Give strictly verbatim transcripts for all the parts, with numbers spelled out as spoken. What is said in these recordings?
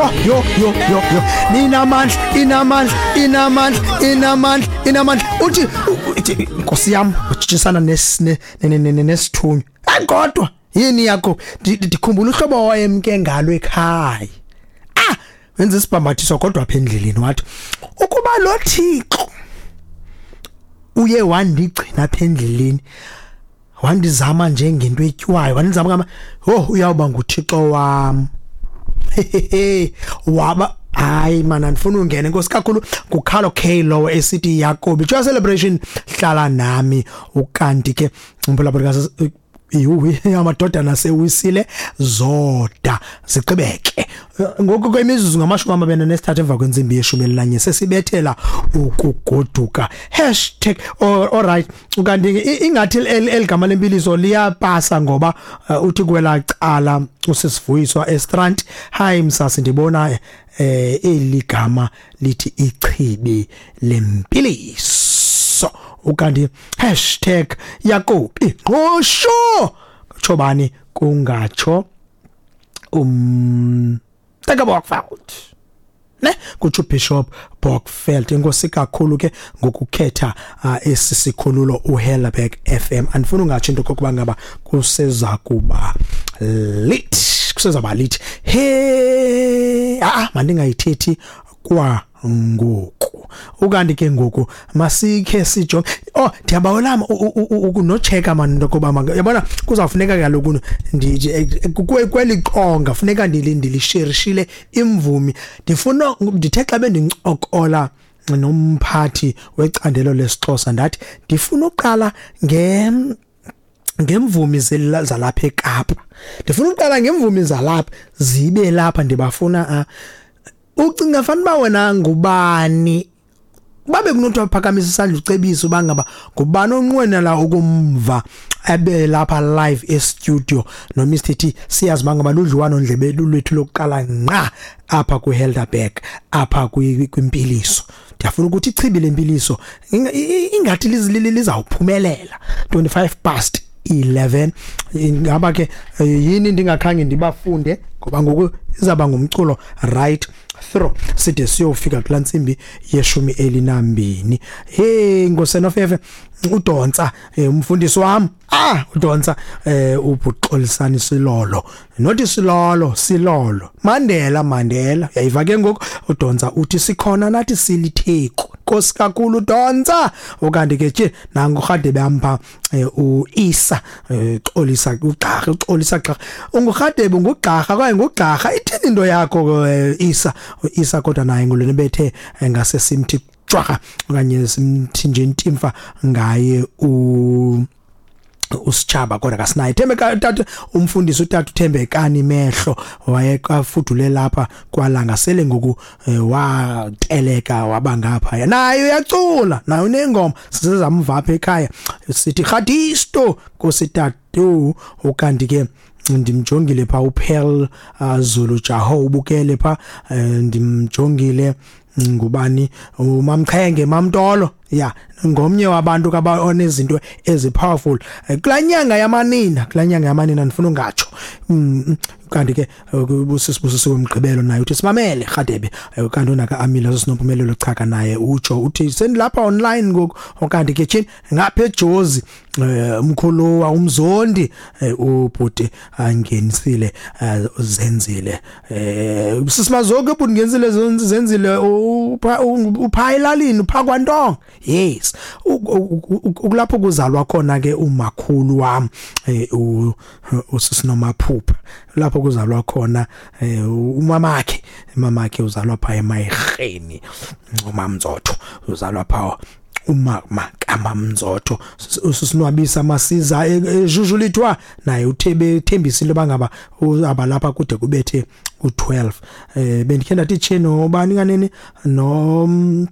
Yho yho yho yho yho, inamandla, inamandla, inamandla, inamandla, inamandla. Uthi uthi Nkosi yam, utshintshisana nesithunywa. Hayi kodwa yini yakho, ndikhumbula uhlobo wayemke ngalo ekhaya. Ah, wenza isibhambathiso kodwa apha endleleni wathi ukuba lo Thixo uye wandigcina apha endleleni, wandizama njengento etyiwayo, wandizama ngama, oh uyawuba nguThixo wam. Waba hayi man, andifuna ungena. Inkosi kakhulu nguCarlo K lo esithi Yakobi Joy Celebration, hlala nami. Ukanti ke umphulaphuli yuwi amadodana sewisile zoda zigqibeke ngoku kwemizuzu ngamashumi amabini nesithathu emva kwentsimbi yeshumi elinanye sesibethela ukugoduka. Hashtag all right. Ukanti ingathi eligama lempiliso liyapasa ngoba uthi kwela cala usisivuyiswa eStrand. Hi msasi, ndibona eh eligama lithi ichibi lempiliso. Ukanti hashtag Yakobi ngqosho kutsho kungatsho um Taka Bokveld ne kutsho Bishop Bokveld. Inkosi kakhulu ke ngokukhetha uh, esi sikhululo uHelderberg F M. Andifuna ungatsho into kokuba ngaba kuseza kuba lit, kuseza lit. He ah mandingayithethi kwa ngoku. Ukanti ke ngoku masikhe sijonge. Oh ndiyabawela ukunocheka man into koba yabona kuzawufuneka kaloku kweli qonga funeka ndilisherishile imvumi. Ndifuna ndithe xa bendincokola nomphathi wecandelo lesiXhosa ndathi ndifuna uqala nge ngemvumi zalapha eKapa. Ndifuna uqala ngemvumi zalapha zibe lapha ndibafuna. Ucinga fana ba wena ngubani babe kunothi waphakamisa isandla ucebisa uba ngaba ngubani onqwenela ukumva abe lapha live e studio no Mister T. Siyazi bangaba ludliwano ndlebe lwethu lokuqala ngqa apha ku Helderberg apha kwimpiliso. Ndiyafuna ukuthi ichibi lempiliso ingathi lizawuphumelela. Twenty-five past eleven. Ingaba ke yini ndingakhange ndibafunde ngoba ngoku izaba ngumculo right through side siyofika kula ntsimbi yeshumi elinambini. Hey ngosenofefe uDontsa umfundisi wami, ah uDontsa ubhuxolisani Silolo, not Silolo, Silolo Mandela, Mandela uyayiva ke ngoku. uDontsa uthi sikhona nathi silitheko. Nkosi kakhulu uDontsa. Ukanti ke nje nangu Rhadebe ampha uIsa xolisa uGqarha, uxolisa Gqarha, unguRhadebe nguGqarha kwaye nguGqarha. Ithini into yakho Isa? Isa kodwa naye ngulona bethe ngase simthi jwaga okanye simthi nje intimfa ngaye u usitshaba kodwa kasinaye. Thembeka tata umfundisi utata uThembekani Mehlo wayekafudule lapha kwalanga sele ngoku wateleka waba ngapha naye uyacula naye unengoma sizamva apha ekhaya sithi Khadisto Nkosi tatu. Ukanti ke ndimjongile pha uPearl Zulu Jaho ubukele pha, ndimjongile ngubani uMamchenge Mamtolo ya ngomnye wabantu kaba onezinto ezi powerful kulanyanga yamanina, kulanyanga yamanina ndifuna ungatsho. Kanti ke busisibusiso wemgqibelo naye uthi simamele Rhadebe. Kanti unaka Amila sinompumelelo Chaka naye utsho uthi sendilapha online ngoku. Kanti ke tshini ngapha eJozi umkhulu umzondi ubhuti angenisile zenzile sisimazoke ubhuti ngenisile zenzile upha elalini upha kwaNtonga. Yes, ukulapho kuzalwa khona ke umakhulu wami usisinomaphupha, lapho kuzalwa khona umamakhe, umamakhe uzalwa pha eMayirheni, uMamzotho uzalwa pha umama kaMamzotho. Usisinwabisa masiza ejujulithwa naye uthebe thembisile bangaba abalapha kude kubethe u twelve. Eh bendikhe ndathi tshe nobani kanene no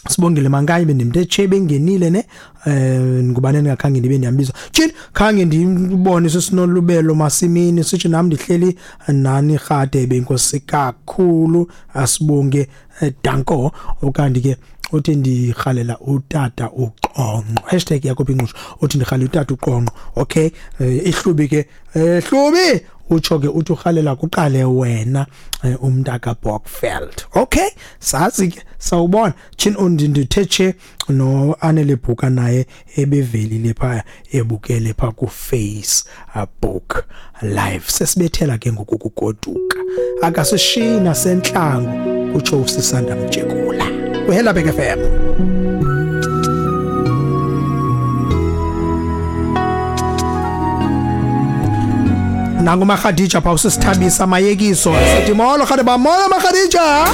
Sibongile Mankayi bendimthe tshe bengenile ne eh ngubane ndingakhange ndibe ndiyambiza tshini khange ndibone sesinolubelo masimini sithi nami ndihleli nani Rhadebe. Inkosi kakhulu asibonge danko. Ukanti ke uthi ndirhalela utata uQonqo, hashtag Yakobi Ngqusho, uthi ndirhalela utata uQonqo. Okay, ihlubi ke, hlubi Utsho ke uthi urhalela kuqale wena eh, umntaka Bokveld. Okay, sazi ke sawubona tshini ndithe tshe no Anele Bhuka naye ebevelile phaya ebukele pha ku Facebook Live. Sesibethela ke ngoku kugoduka, akasishiyi nasentlango, kutsho uSisanda Mjekula. Kuhelabek F M. Nangu Makhadija pha usisithabisa mayekiso. Sithi molo Khadeba, molo Makhadija.